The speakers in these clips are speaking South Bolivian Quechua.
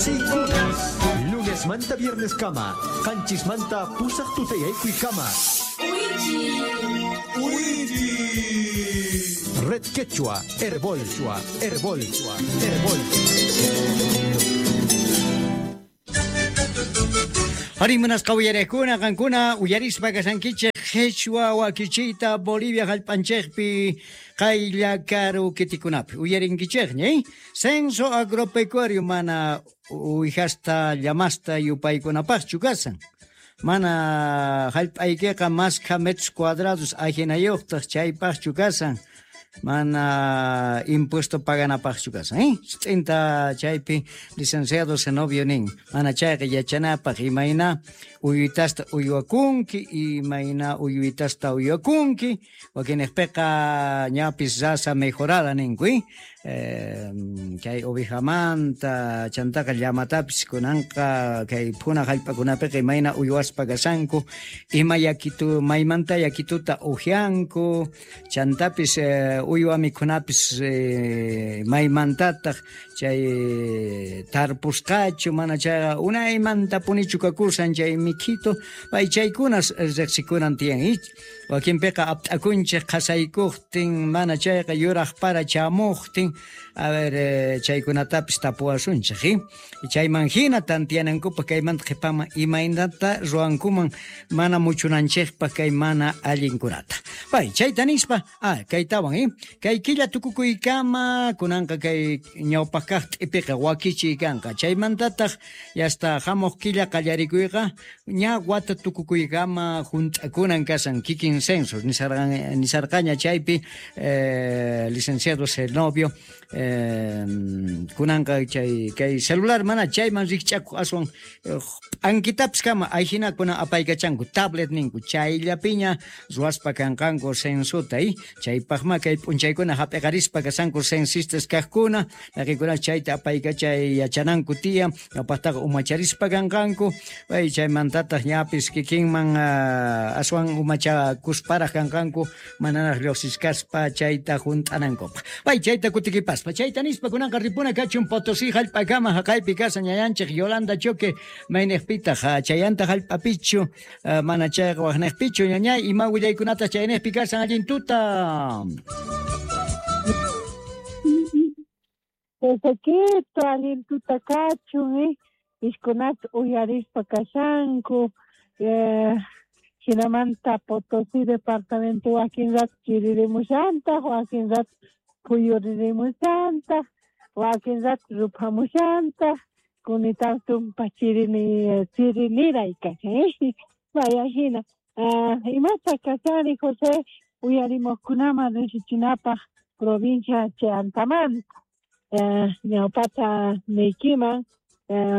Rejsiykunas. Lunes manta viernes kama, qanchis manta pusaq tutayaykuy kama. Red Quechua, Herbol, Herbol, Herbol. Ari munasqa uyariqkuna qankuna uyarispa kashankichej qhichwa wakichiyta Bolivia jallp'anchejpi qaylla karu kitikunapi uyarinkichejña, eh? Censo agropecuario mana uwijasta llamasta yupaykunapaqchu kasan. Mana jallp'aykiqa maskha metros cuadrados ajinayuqtaq chaypaqchu kasan. Mana impuesto paganapaqchu kasan, eh? T'inta chaypi licenciado Zenobio nin. Mana chayqa yachanapaq imayna uyuytasta uywakunki, imayna uyuytasta uywakunki, wakinejpiqa ñapis raza mejorada ninku, eh? Chay ovejamanta chantaqa llamatapis kunanqa kay phuna jallp'akunapiqa imayna uywaspa kasanku, ima yakitu maymanta yakituta ujianku, chantapis uywa mikhunapis maymantataq chay tarpusqachu mana chayqa unaymanta punichu kakusan chay mikhito, pay chaykunas riqsikunan tiyan. Wakinpiqa apt'akunchej qhasaykuqtin mana chayqa yuraq para chamuqtin, a ver, chaykunatapis tapuwasunchej, eh? Chayman hina tantiyanankupaq kaymanta qhipaman imaynata ruwankuman mana muchunanchejpaq kay mana allinkunata. Pay chayta nispa, kaytawan, eh? Kay killa tukukuykama kunanqa kay ñawpaq kaq t'ipiqa wakichiy kanqa. Chaymantataq yasta hamuq killa qallarikuyqa ña wata tukukuykama junt'akunan kasan kikin censo nisarqaña chaypi licenciado Zenobio kunanqa chay kay celular mana chayman rikch'akuq aswan p'ankitapis kama ayhinakuna apaykachanku tablet ninku chayllapiña ruwaspa kanqanku censuta, eh? Chaypaqma kay p'unchaykuna hap'iqarispa kasanku censistas kaqkuna llaqikuna chayta apaykachay yachananku tiyan ñawpaqtaqa umacharispa kanqanku pay chaymantataq ñapis kikinman aswan umachakusparaq kanqanku manaraq lluqsichkaspa chayta junt'anankupaq. Pay chayta kutikipaspa chayta nispa kunanqa ripuna kachun Potosí jallp'akama jaqaypi kasan ñayanchej Yolanda Choque maynejpitaq chayanta jallp'apichu mana chayqa waqnejpichu ñañay ima willaykunata chaynejpi kasan allin tuta. Josequito, allin tuta kachun, ishkunata uyarispa kashanku, hinamanta Potosí departamento wakin rato chiririmushantaq, wakin rato phuyuririmushantaq, wakin rato ruphamushantaq, kunitan tumpa chiriniray kashan, Vaya hina. Imata kashani José uyarimuqkunaman riqsichinapaq provincia Chantamanta. Ñawpata niykiman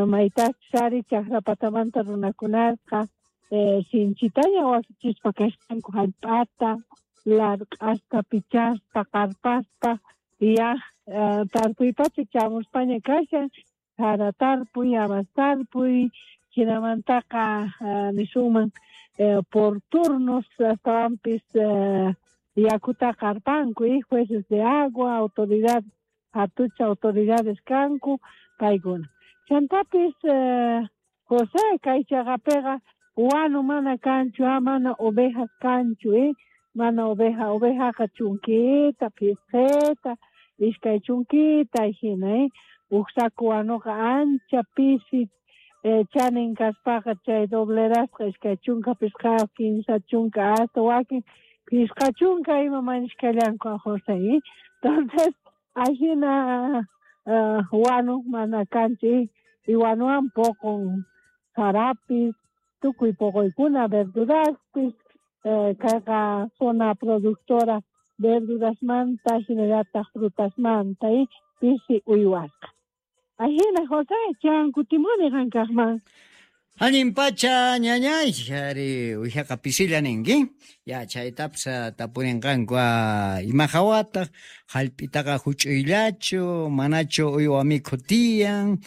maytachus ari chaqrapatamanta runakunaqa sinchitaña wakichispa kashanku jallp'ata larq'aspa pichaspa qarpaspa ya tarpuypacha chamuspaña kashan sara tarpuy habas tarpuy hinamantaqa nisunman por turnos astawanpis yakuta qarpanku, jueces de agua, autoridad hatucha autoridades kanku paykuna. Chantapis José kay chaqapiqa wanu mana kanchu, mana ovejas kanchu, mana oveja, ovejaqa chunkita, pisqita, iskay chunkita hina, uj saco wanuqa ancha pisi chanin kaspaqa chay doblerasqa iskay chunka pisqayuq, kinsa chunka hasta wakin pisqa chunka ima mañishkallanku José, Entonces ajina wanu mana kanchu, y wanuwan poqon sarapis, tukuy poqoykuna verduraspis, kayqa zona productora verdurasmanta hinallataq frutasmanta, pisi uywasqa. Ajina José, chan kutimuni qankaqman. Allin pacha ñañay, ari uwijaqa pisilla ninki. Ya chaytapis tapurinqanku ima hawataq jallp'itaqa huch'uyllachu, manachu uywa mikhu tiyan.